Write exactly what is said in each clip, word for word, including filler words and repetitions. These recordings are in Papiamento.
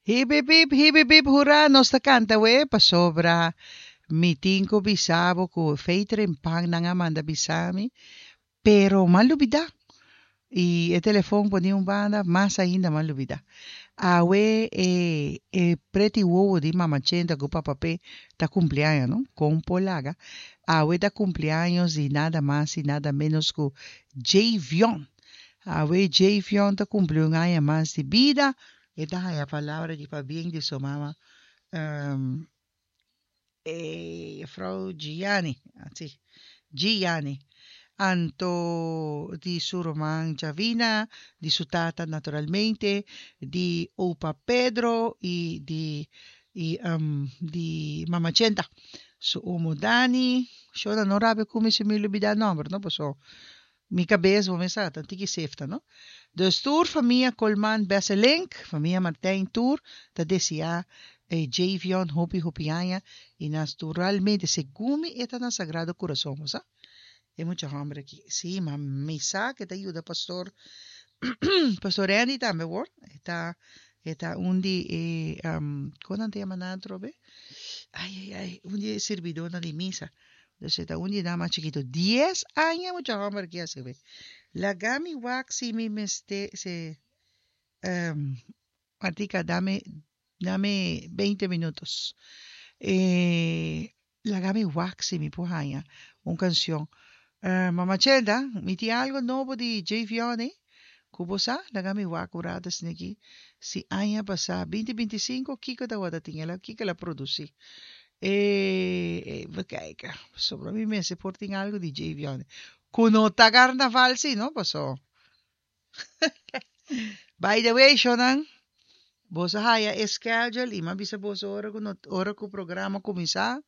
Hip hip hip hip hip hip hurra, nos ta canta we pasobra mi tin cu bisa bo cu fei trempan nan a manda bisa mi, pero m'a lubida. Y e telefon poni un banda, mas ainda m'a lubida. Awe e e preti wowo di Mama Chenta cu Papa P ta cumpleaños, no? Con por laga. Awe ta cumpleaños di nada mas y nada menos cu Javion. Awe Javion ta cumpli un aña mas di bida. E ta haya palabra di pabien di su mama, um, e juffrouw Gianni, así, Gianni. Anto di su ruman Javina, di su tata naturalmente, di opa Pedro y di y um, di Mama Chenta. Su omo Dani, shona no rabia cu mi si mi lubida nomber, no? Paso mi cabes, bo mes sa, ta tiki sefta, no? Dus tur famia Colman Besselink, famia Martijn tur, ta desea eh, Javion hopi hopi aña y naturalmente segun mi e ta na Sagrado Corazon, bo sa? E mucha homber aki. Sí, ma mi sa cu ta yuda pastor Pastor Andy tambe hoor. E ta e ta un di e um, con nan ta yama nan atrobe? Ai ai ai, un di e sirbidornan di misa. Dus e ta un di nan mas chikito. Dies aña mucha homber aki a sirbi. Laga mi wak si mi mester se um, Martica, dame dame veinte minutos. E laga mi wak si mi por haña un cancion. Uh, Mama Chenda, mi tin algo nobo di Javion, eh? Ku bo sa? Laga mi wak un rato esaki. Si aña pasa, binti binti sinku, kiko tabata tin el a, kiko el a produci? Eh, even kijken. Sobre mi mester por tin algo di Javion. Ku no ta carnaval si, no? Paso. By the way, shonan, boso a haya e schedule y m'a bisa boso ora cu no, ora cu programa cuminsa,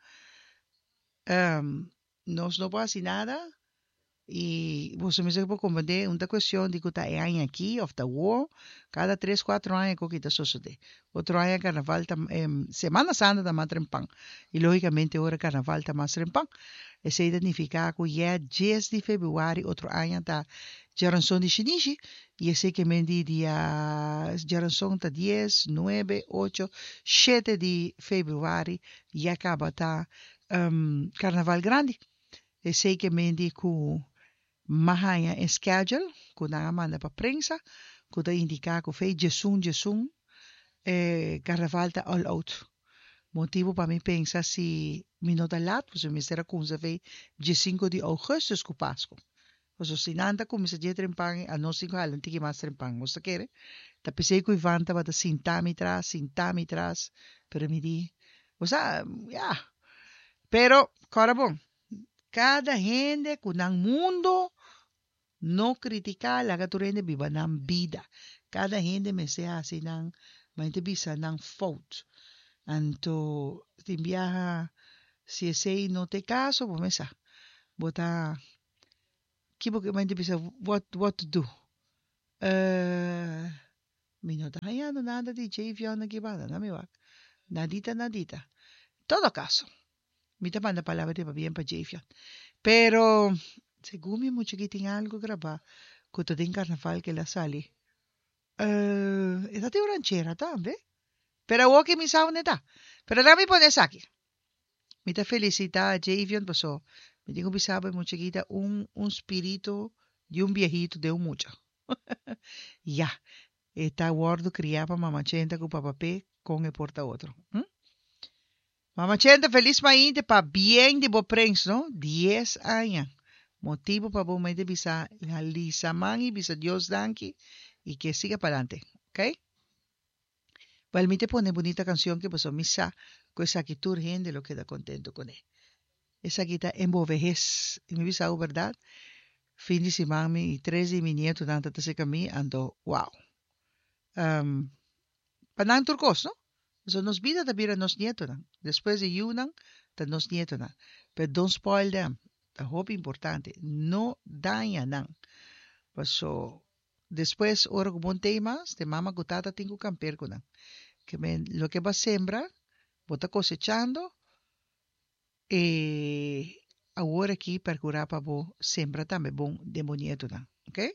um, nos no por haci nada y boso mester por comprende un ta cuestion di cu ta e aña aki of ta awo, cada tres, cuatro aña cu ta sosode. Otro aña carnaval ta, um, Semana Santa ta mas trempan y logicamente ora carnaval ta mas trempan. Esey ta nifica cu ya dies di februari otro aña ta Djaranson di Shinishi y esey ke men di dia Djaranson ta dies, nuebe, ocho, shete di februari ya caba ta um, Carnaval Grandi. Esey ke men di cu m'a haña e schedule cu nan a manda pa prensa cu ta indica cu fei djesun djesun eh, Carnaval ta all out. Motibo pa mi pensa si mi no ta laat, pues mi mester a cuminsa fei diescinco di augustus cu Pasco. Paso si nan ta cuminsa dje trempan, anos tin cu hala un tiki mas trempan. Bo ta kere? Ta pesey cu Ivan tabata sinta mi tras, sinta mi tras, pero mi di, bo sa, ya. Pero, cora bon, cada hende cu nan mundo, no critica, laga tur hende biba nan bida. Cada hende mester haci nan, ma bisa nan fout. Anto, tin biaha, si esey no ta e caso, bo mes sa. Bo ta, kibo cu ma bisa what, what to do. Uh, mi no ta hañando nada di Javion aki banda, na mi wak. Nadita, nadita. Todo caso, mi ta manda palabra di pabien pa Javion. Pero, segun mi mucha aki tin algo graba, cu ta den carnaval cu el a sali. Uh, e ta tin un ranchera tambe. Pero awo cu mi sa unda ta. Pero laga mi pone esaki. Mi ta felicita Javion paso. Mi tin cu bisa bo mucha aki ta un, un spirito di un viejito de un mucha. Ya, e ta wordo cria pa Mama Chenta cu Papa P con e por ta otro. Hm? Mama Chenta, feliz mainta pabien di bo prins, no? Dies aña. Motibo pa bo mente bisa hisa man y bisa Dios danki y cu siga pa'lante, ok? Wel, mi ta pone bunita cancion cu paso mi sa cu esaki tur hende lo keda contento cu ne. Esaki ta En bo vehes. Y mi bisa e berdad. Fin di siman mi tres di mi nietonan ta cerca mi anto wow. Um, pa nan tur cos, no? So nos bida ta bira nos nietonan. Despues di yiunan, ta nos nietonan. But don't spoil them. Ta hopi importante. No daña nan. Paso despues ora cu bo no t'ey mas, te mama cu tata tin cu kampeer cu nan. Ke men loke bo a sembra, bo ta cosechando e awor aki percura pa bo sembra tambe bon den bo nietonan, ok?